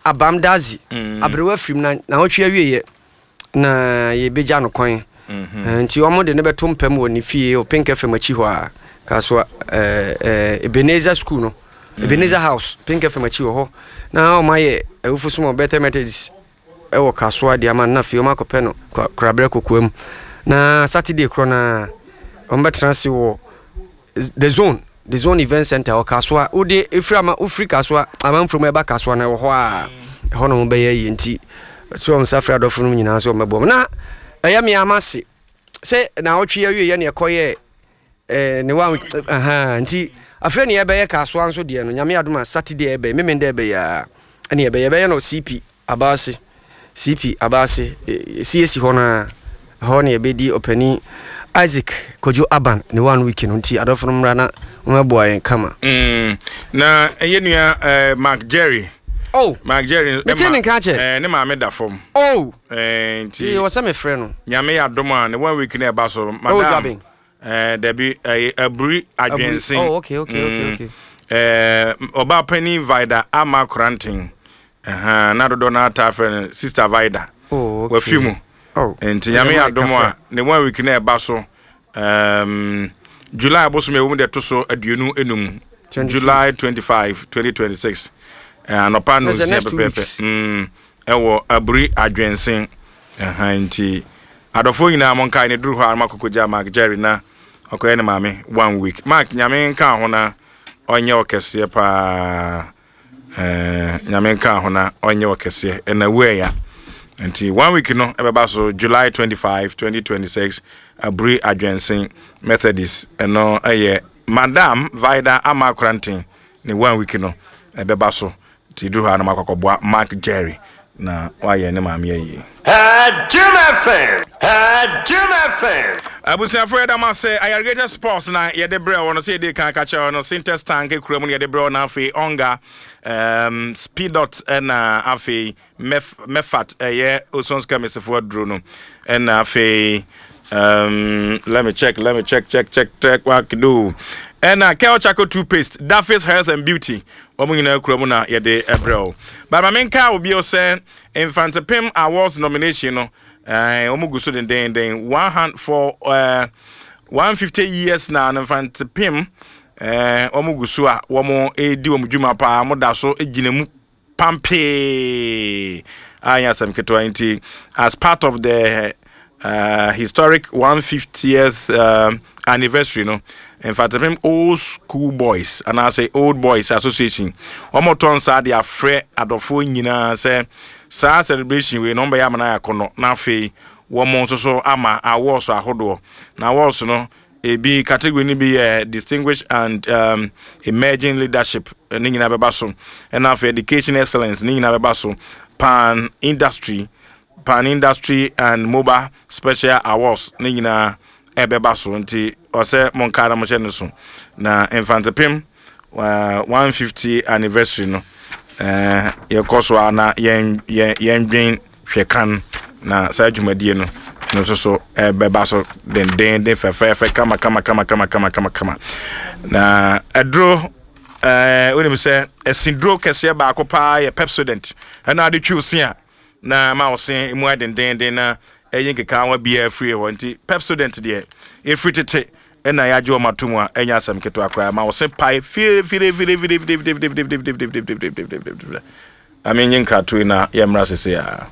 Abam Dadzie, aberewa firim na nawɔtwe awieɛ na yɛbɛgya no kwan. Eh, nti wɔn de no bɛto mpam wɔ ne fie wɔ Pink FM akyi hɔ a, Kasoa eh, eh, Ebenezer School no, Ebenezer House, Pink FM akyi wɔ hɔ. Na wɔn ayɛ awufo som wɔ Bethel Methodist wɔ Kasoa de ama no na afei wɔn akɔpɛ no Korabrɛ Kokoam. Na Saturday korɔ no ara wɔn bɛtena ase wɔ The Zone, The Zone Event Center wɔ Kasoa. Wode efiri ama wofiri Kasoa amanfo mu ɛba Kasoa no ɛwɔ hɔ a ɛhɔ na wɔn bɛyɛ yie nti so wɔn nsa frɛ adɔfo no nyinaa sɛ wɔn bɛboa wɔn. Na ɛyɛ me ama se sɛ na awɔtwe awie yɛ ne ɛkɔyɛ ɛɛ ne wa ahan nti afei ne yɛbɛyɛ Kasoa nso deɛ no nyame adom a Saturday ɛbɛyɛ memenda ɛbɛyɛ a ɛne yɛbɛyɛ yɛbɛyɛ no CP Abaase, CP Abaase, CAC hɔ no ara, ɛhɔ na yɛbɛdi ɔpanin Isaac Kojo Aban ne one week no nti adɔfo no mmra na wɔmmɛboa yɛn kama. Mm, na ɛyɛ nua eh, Mark Jerry. Oh, Mark Jerry. Mete ne nka kyɛ. Eh, ne maame da fam. Oh. Eh, nti. Wɔ sɛ mefrɛ no. Nyame yɛ adom a ne one week na ɛba so. Madam. Eh, dabi, eh, aburi adwensen. Oh, okay, okay, mm, okay, okay. Eh, ɔbaa panin Vida ama koranten. Ɛhã, na dodoɔ no ara taa frɛ no Sister Vida. Oh, okay. Wafi mu. Oh. Nti Nyame yɛ adom a, ne one week na ɛba so. Um, July abosom ɛwɔ mu de ɛto so 25. July 25, 2026. Eh, anɔpa no nsia pɛpɛɛpɛ. Mm, ɛwɔ Aburi Adwensen. Ɛhã nti adɔfoɔ nyinaa monkae no duru hɔ a na moakɔkɔgya Mark Jerry na ɔkɔyɛ ne maame one week. Mark Nyame nka ho na ɔnyɛ wo kɛseɛ paa. Eh, Nyame nka ho na ɔnyɛ wo kɛseɛ. Ɛna wu ɛya. Nti one week no ɛbɛba so July 25, 2026 Aburi Adwensen Methodist ɛno ɛyɛ Madam Vida Ama Koranten ne one week no ɛbɛba so. Nti duru hɔ a na makɔ akɔboa Mark Jerry na wayɛ ne maame ayie. Jim FM, Jim FM. Abusuafo yɛda mo ase. Ayargated Sports na yɛde brɛ wo no sɛ yɛde kan ka kyerɛ wo no Sintex Tank kura mu na yɛde brɛ wo na afei Onga um, Speedot na afei Mef, Mefat ɛyɛ Osons Chemist fo aduro no ɛna afei um, let me check let me check check check check what do ɛna Kel Charcoal toothpaste Daffy's Health and Beauty wɔn nyinaa kura mu na yɛde ɛbrɛ wo but ma menka wo bio sɛ Mfantepem Awards nomination no ɛɛ wɔn gu so dendenden one hand for ɛɛ 150 years na no Mfantepem ɛɛ wɔn gu so a wɔn redi wɔn dwuma paa wɔn da so gyina mu pampee a ɛnyɛ asɛm ketewa nti as part of the uh, historic 150th uh, anniversary no mfatepem old school boys anaasɛ old boys association wɔn tɔ nsa de afrɛ adɔfoɔ nyinaa sɛ saa celebration wei no wɔn bɛyɛ amana ayɛ akɔnɔ na afei wɔn nso so ama awards ahodoɔ na awards no Ebi category no bi yɛ distinguished and um, emerging leadership ne nyinaa bɛba so. Ɛna afei education excellence ne nyinaa bɛba so. Pan industry, pan industry and mobile special awards ne nyinaa ɛbɛba so. Nti ɔsɛ monkaa na mohyɛ no so. Na Mfantepem uh, 150 anniversary no uh, yɛkɔ so a na yɛn yɛn yɛndwen hwɛ kan na saa dwumadie no ɛno nso so ɛbɛba so dendenden fɛfɛɛfɛ kama kama kama kama kama kama kama na ɛduro ɛɛ wonim sɛ ɛsinduro kɛseɛ baako paa yɛ Pepsodent ɛna ade twiw se a na ma wo se mu ayɛ dendenden na ɛyi nkekaawa biara firi hɔ nti Pepsodent deɛ ɛfiri tete ɛna yɛagye wɔn ato mu a ɛnyɛ asɛm ketewa koraa ma wo se pae fire fire fire fire fire fire fire fire fire fire fire fire fire fire fire fire. Ma menye nkratoe na yɛmmra sesei ara.